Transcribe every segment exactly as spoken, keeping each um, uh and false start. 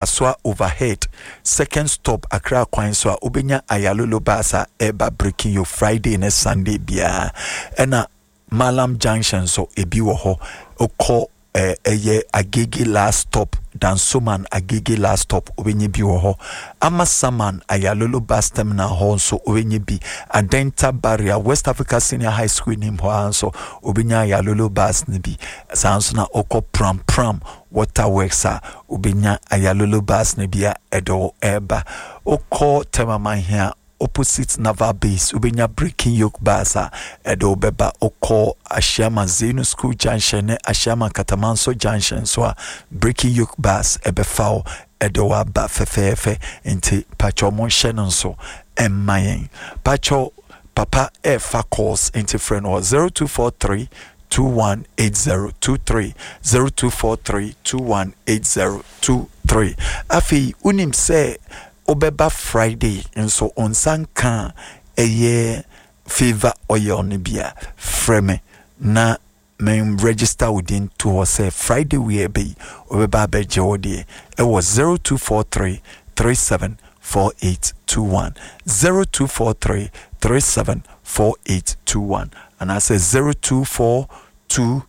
Kasoa overhead second stop Accra kwan so a wobɛnya Ayalolo bus a ɛreba Breaking Yo Friday ne Sunday biara. Ɛna Malam Junction nso ebi wɔ hɔ. Wokɔ eh, ɛyɛ Agege last stop, Dansoman Agege last stop, wobɛnya bi wɔ hɔ. Amasaman Ayalolo bus terminal hɔ nso wobɛnya bi. Adenta Barrier West Africa Senior High School nim hɔ ara nso wobɛnya Ayalolo bus no bi. Saa nso na wokɔ Pram Pram Water Works a, wobɛnya Ayalolo bus no bi a ɛde wo ɛreba. Wokɔ Tema Manhia opposite Naval Base, wobɛnya Breaking Yoke bus a ɛde wo bɛba. Wokɔ Ashiama Zenu School Junction ne Ashiama Katamanso Junction nso a, Breaking Yoke bus ɛbɛfa wo ɛde wo aba fɛfɛɛfɛ. Nti pakyɛw monhyɛ no nso ɛmma yɛn. Pakyɛw papa ɛɛfa calls nti frɛ no wɔ zero two four three two one eight zero two three zero two four three two one eight zero two three. Afei wonim sɛ wobɛba Friday nso wo nsa nka a ɛyɛ favour oil no bi a, frɛ me na me register wo din to hɔ sɛ Friday wei ɛbɛ yi wobɛba abɛgye wo deɛ ɛwɔ zero two four three three seven four eight two one zero two four three three seven four eight two one anaasɛ zero two four two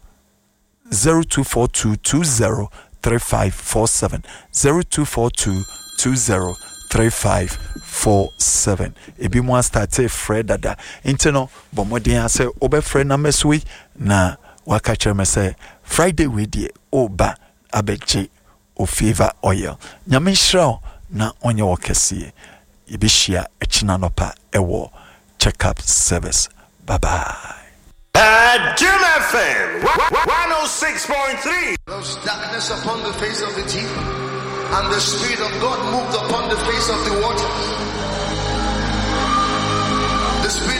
zero two four two two zero three five four seven zero two four two two zero three five four seven. Ebi mu astate frɛ dada nti no bɔ mmɔden asɛ wobɛfrɛ numbers wei na waka kyerɛ me sɛ Friday wei deɛ ɔreba abɛgye o favour oil. Nyame nhyira wo na ɔnyɛ wo kɛseɛ. Yɛbɛhyia ɛkyena anɔpa ɛwɔ check up service. Bye bye. At Jim F M one oh six point three. There was darkness upon the face of the deep, and the Spirit of God moved upon the face of the waters. The Spirit